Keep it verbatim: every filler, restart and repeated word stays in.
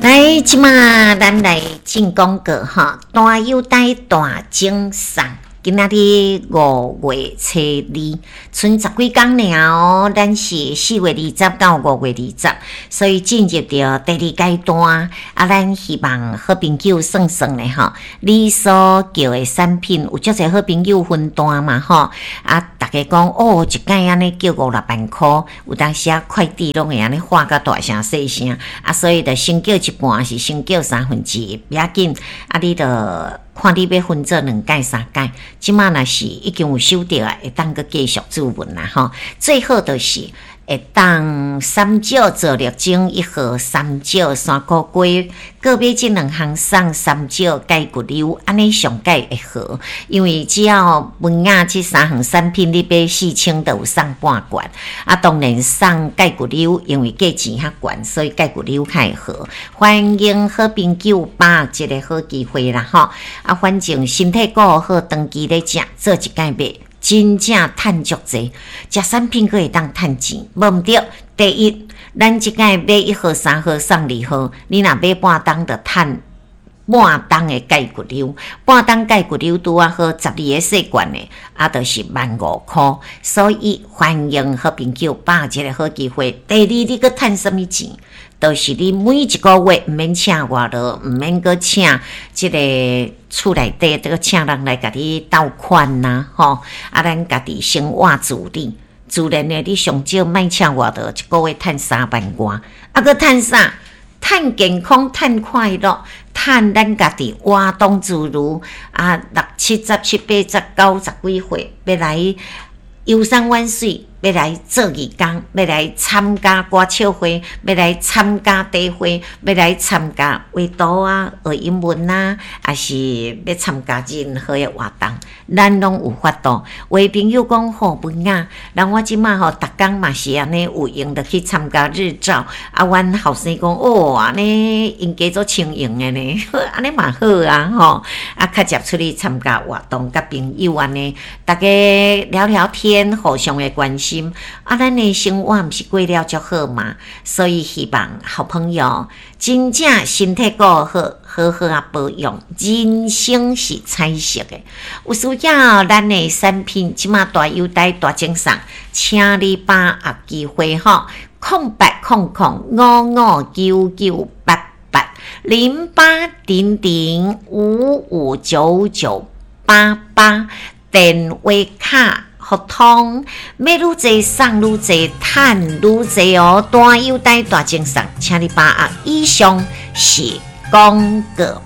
來，這馬咱來進廣告吼，大優待大獎送。今仔日五月初二，賰十幾工爾哦。咱是四月二十到五月二十，所以進入著第二階段。啊，咱希望好朋友算算咧吼，你所叫的產品有足濟好朋友分單嘛吼。啊，逐家講哦，一擺按呢叫五六萬箍，有當時啊快遞攏會按呢喊甲大聲細聲。啊，所以就先叫一半，是先叫三分之一，袂要緊。啊，你就看你欲分做兩擺三擺，這馬若是已經有收著啊，會當閣繼續注文啦吼。最好就是會當三少皂綠精一盒，三少山菇瓜，閣買這兩項送三少解骨溜，按呢上蓋會好。因為只要文雅這三項產品你買四千，就有送半罐。啊，當然送解骨溜，因為價錢較懸，所以解骨溜較會好。歡迎好朋友把握這個好機會啦吼！啊，反正身體顧好，長期咧食，做一擺買，真正趁足濟，食產品閣會當趁錢，無毋對。第一，咱這擺買一盒三盒送二盒，你若買半擔就趁半擔的解骨溜，半擔解骨溜拄仔好十二個細罐的，啊，就是萬五箍。所以歡迎好朋友把握這個好機會。第二，你閣趁啥物錢？就是你每一個月毋免請外勞，毋免閣請這个厝內底，這个請人來共你鬥款呐，吼！啊，咱家己生活自理，自然的，你上少莫請外勞，一個月趁三萬外，啊，閣趁啥？趁健康，趁快樂，趁咱家己活動自如。啊，六七十、七八十、九十幾歲，欲來遊山玩水，欲來做義工，欲來參加歌唱會，欲來參加茶會，欲來參加畫圖啊、學英文啊，抑是欲參加任何的活動，咱攏有法度。有的朋友講吼，文雅，人我這馬吼，逐工嘛是按呢有閒就去參加日照。啊，阮後生講哦，按呢𪜶家足輕盈的呢，按呢嘛好啊吼。啊，較捷出去參加活動，佮朋友按呢，逐家聊聊天，互相的關心。啊，咱的生活毋是過了足好嘛？所以希望好朋友真正身體顧好，好好仔保養，人生是彩色的。有需要咱的產品，這馬大優待大贈送，請你把握機會吼！空八空空五五九九八八零八零零五五九九八八，電話卡。互通買愈濟送愈濟，趁愈濟哦！大優待大贈送，請你把握。以上是廣告。